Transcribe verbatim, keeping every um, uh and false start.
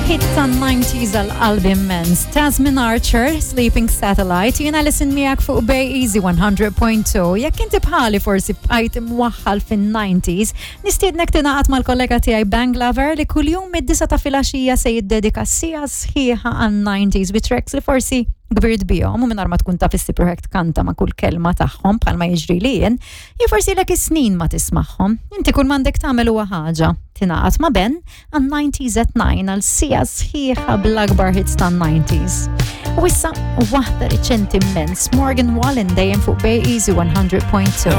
Hit tan-nineties għal qalbi immens. Tasmin Archer, Sleeping Satellite, jiena Alison miegħek fuq Bay Easy one hundred point two. Jekk inti bħali forsi bqajt imwaħħal fin-nineties, nistiednek tingħaqad mal-kollega tiegħi Bang Lover li kuljum mid-disgħa ta' filgħaxija se jiddedika siegħa sħiħa għan-nineties bi tracks li forsi kbirt bihom u mingħajr ma tkun taf issib ruħek tkanta ma' kull kelma tagħhom bħalma jiġri li jien, jew forsi lek is-snin ma tismagħhom. Inti kull m'għandek tagħmel huwa ħaġa. Tingħaqad ma' Ben għan-nineties at nine għal siegħa sħiħa bl-akbar hits tan-nineties. U issa waħda riċenti immens, Morgan Wallen, dejjem fuq Bay Easy one hundred point two.